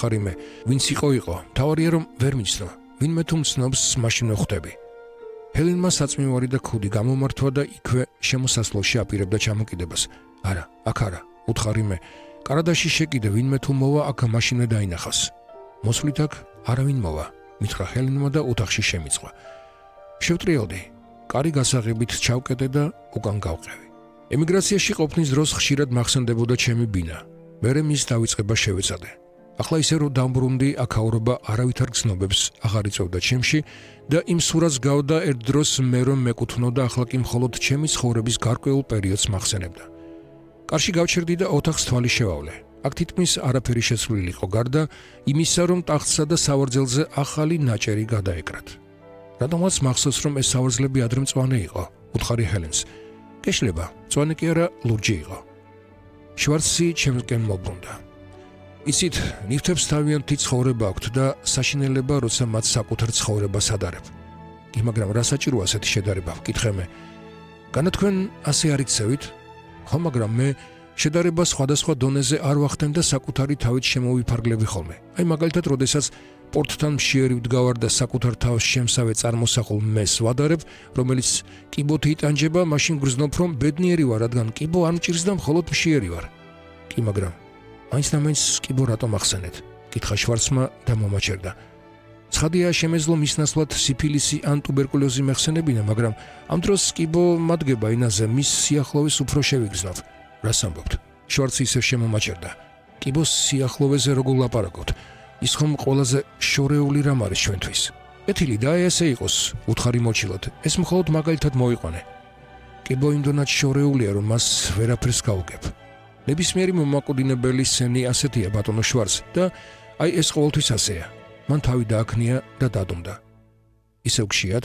უთხარი მე, ვინც იყო, თავარია რომ ვერ მიცნო, ვინმე თუ მცნობს, მაშინ ხვდები. ჰელენმა საწმივარი და ქუდი გამომართვა და იქვე შემოსასვლელში აპირებდა ჩამოკიდებას. არა, აქ არა, უთხარი მე. კარადაში შეკიდე, ვინმე თუ მოვა, აქ მაშინვე დაინახავს. მოსვლით აქ არავინ მოვა, მითხრა ჰელენმა და ოთახში შემიწყვა. შევტრიალდი, კარი გასაღებით ჩავკეტე და უკან გავყევი. ემიგრაციაში ყოფნის დროს ხშირად მახსენდებოდა ჩემი ბინა. მერე მის დავიწყება შევეცადე. ახლა ისე რომ დამბრუნდი, აქაურობა არავითარ გზნობებს აღარ იწევდა ჩემში და იმ სურათს გავდა ერთ დროს მე რომ მეკუთვნოდა, ახლა კი მხოლოდ ჩემი ცხოვრების გარკვეულ პერიოდს მახსენებდა. კარში გავჩერდი და ოთახს თვალი შევავლე. აქ თითქმის არაფერი შეცვლილი იყო, გარდა იმისა, რომ ტახტსა და სავარძელზე ახალი ნაჭერი გადაეკრათ. რადგანაც მახსოვს, რომ ეს სავარძლები ადრე მწვანე იყო, უთხარი ჰელენს. გეშლება, მწვანე კი არა, ლურჯი იყო. შვარცი ჩემსკენ მობრუნდა. იცით, ნივთებს თავიანთი ცხოვრება აქვთ და საშინელება, როცა მათ საკუთარ ცხოვრებას ადარებ. კი, მაგრამ რა საჭიროა ასეთი შედარება, ვკითხე მე. განა თქვენ ასე არ იქცევით? ხო, მაგრამ მე შედარება სხვადასხვა დონეზე არ ვახდენ და საკუთარი თავით შემოვიფარგლები ხოლმე. აი მაგალითად, როდესაც პორტთან მშიერი ვდგავარ და საკუთარ თავს შემსავე წარმოსახულ მეს ვადარებ, რომელიც კიბოთი იტანჯება, მაშინ გრძნობ, რომ ბედნიერი ვარ, რადგან კიბო არ მჭირს და მხოლოდ მშიერი ვარ. კი, მაგრამ მაინც და მაინც კიბო რატომ ახსენეთ? კითხა შვარცმა და მომაჩერდა. ცხადია, შემეძლო მის ნაცვლად სიფილისი ან ტუბერკულოზი მეხსენებინა, მაგრამ ამ დროს კიბო მადგება ენაზე მის სიახლოვეს უფრო შევიგრძნობ. რას ამბობთ? შვარცი ისევ შემომაჩერდა. კიბოს სიახლოვეზე როგორ ლაპარაკობთ? ის ხომ ყველაზე შორეული რამ არის ჩვენთვის. ეთილი და ესე იყოს, უთხარი მოჩილად. ეს მხოლოდ მაგალითად მოიყვანე. კიბო იმდენად შორეულია, რომ მას ვერაფერს გავუგებ. ნებისმიერი მომაკვდინებელი სცენი ასეთია, ბატონო შვარცი, და აი ეს ყოველთვის ასეა. მან თავი დააქნია და დადუმდა. ისევ გშიათ?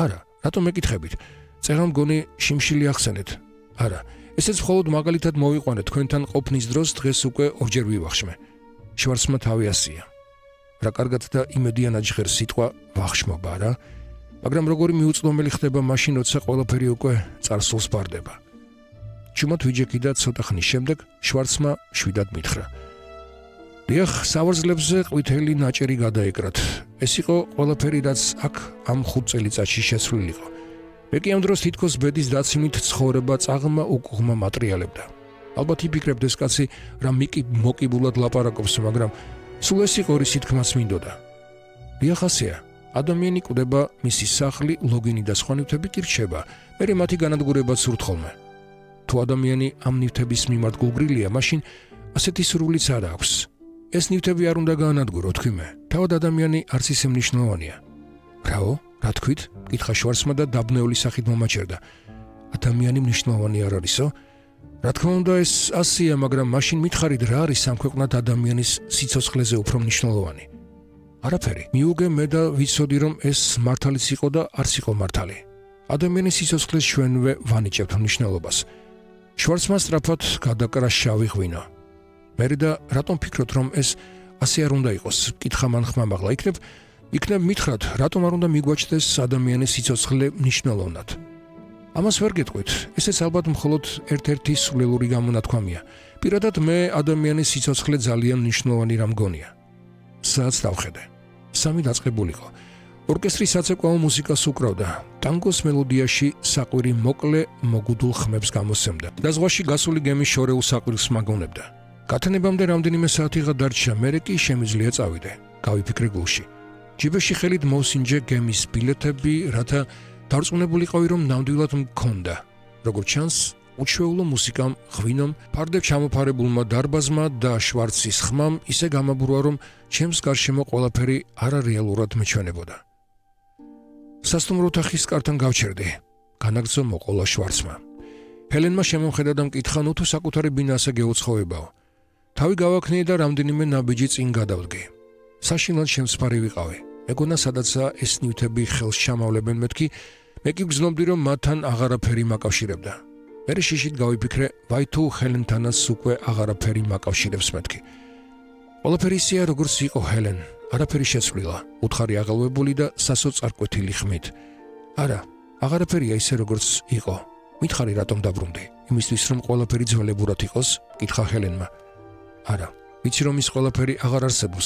არა, რატომ მეკითხებით? წერა მგონი შიმშილი ახსენეთ. არა, ესეც მხოლოდ მაგალითად მოვიყვანე თქვენთან ყოფნის დროს, დღეს უკვე ორჯერ ვივახშმე. შვარცმა თავი ასია. რა კარგად და იმედიანად ჟღერს სიტყვა ვახშმობა რა, მაგრამ როგორი მიუწვდომელი ხდება მაშინ, როცა ყველაფერი უკვე წარსულს ბარდება. ჩუმად ვიჯექი და ცოტა ხნის შემდეგ შვარცმა შვიდად მითხრა. დიახ, სავარძლებზე ყვითელი ნაჭერი გადაეკრათ. ეს იყო ყველაფერი, რაც აქ ამ 5 წელიწადში შეცვლილიყო. მე კი ამ დროს თითქოს ბედის დაცინით ცხოვრება წაღმა უკუღმა მატრიალებდა. ალბათ იფიქრებთ ეს კაცი რა მოკიბულად ლაპარაკობს, მაგრამ სულ ეს იყო რის თქმაც მინდოდა. დიახ, ასეა. ადამიანი კვდება, მისი სახლი, ლოგინი და სხვა ნივთები კი რჩება, მერე მათი განადგურება სურთ ხოლმე. თუ ადამიანი ამ ნივთების მიმართ გულგრილია, მაშინ ასეთი სურვილიც არ აქვს. ეს ნივთები არ უნდა გაანადგურო, თქვი მე. თავად ადამიანი არც ისე მნიშვნელოვანია. რაო? რა თქვით? კითხა შვარცმა და დაბნეული სახით მომაჩერდა. ადამიანი მნიშვნელოვანი არ არისო? რა თქმა უნდა, ეს ასია, მაგრამ მაშინ მითხარით რა არის სამქვეყნად ადამიანის სიცოცხლეზე უფრო მნიშვნელოვანი? არაფერი. მიუგე მე და ვიცოდი, რომ ეს მართალიც იყო და არც იყო მართალი. ადამიანის სიცოცხლეს ჩვენვე ვანიჭებთ მნიშვნელობას. შვარცმა სწრაფად გადაკრა შავი ღვინო. მერე და რატომ ფიქრობთ, რომ ეს ასე არ უნდა იყოს? კითხა მან ხმამაღლა. იქნებ მითხრათ, რატომ არ უნდა მიგვაჩნდეს ადამიანის სიცოცხლე მნიშვნელოვნად? ამას ვერ გეტყვით, ესეც ალბათ მხოლოდ ერთ-ერთი სულელური გამონათქვამია. პირადად მე ადამიანის სიცოცხლე ძალიან მნიშვნელოვანი რამ მგონია. საათს დავხედე. 3 დაწყებულიყო. ორკესტრი საცეკვაო მუსიკას უკრავდა. ტანგოს მელოდიაში საყვირი მოკლე მოგუდულ ხმებს გამოსცემდა და ზღვაში გასული გემის შორეულ საყვირს მაგონებდა. გათენებამდე რამდენიმე საათიღა დარჩა, მერე კი შემიძლია წავიდე. გავიფიქრე გულში. ჯიბეში ხელით მოვსინჯე გემის ბილეთები, რათა დარწმუნებულიყავი, რომ ნამდვილად მქონდა. როგორც ჩანს, უჩვეულო მუსიკამ, ღვინომ, ფარდებ ჩამოფარებულმა დარბაზმა და შვარცის ხმამ ისე გამაბურვა, რომ ჩემს გარშემო ყველაფერი არარეალურად მეჩვენებოდა. სასტუმრო ოთახის კართან გავჩერდი. განაგრძო მოყოლა შვარცმა. ჰელენმა შემომხედა და მკითხა, ნუ თუ საკუთარი ბინა ასე გეუცხოვებაო. თავი გავაქნიე და რამდენიმე ნაბიჯი წინ გადავდგე. საშინლად შემსფარი ვიყავი. მეგონა სადაცაა ეს ნივთები ხელს ჩამავლებენ მეთქი, მე კი გრძნობდი, რომ მათთან აღარაფერი მაკავშირებდა. მერე შიშით გავიფიქრე, ვაი თუ ჰელენთანაც უკვე აღარაფერი მაკავშირებს მეთქი. ყველაფერი ისეა, როგორც იყო ჰელენ, არაფერი შეცვლილა, უთხარი აღელვებული და სასოწარკვეთილი ხმით. არა, აღარაფერია ისე, როგორც იყო. მითხარი რატომ დაბრუნდი? იმისთვის, რომ ყველაფერი ძველებურად იყოს? კითხა ჰელენმა. არა, ვიცი, რომ ის ყველაფერი აღარ არსებობს,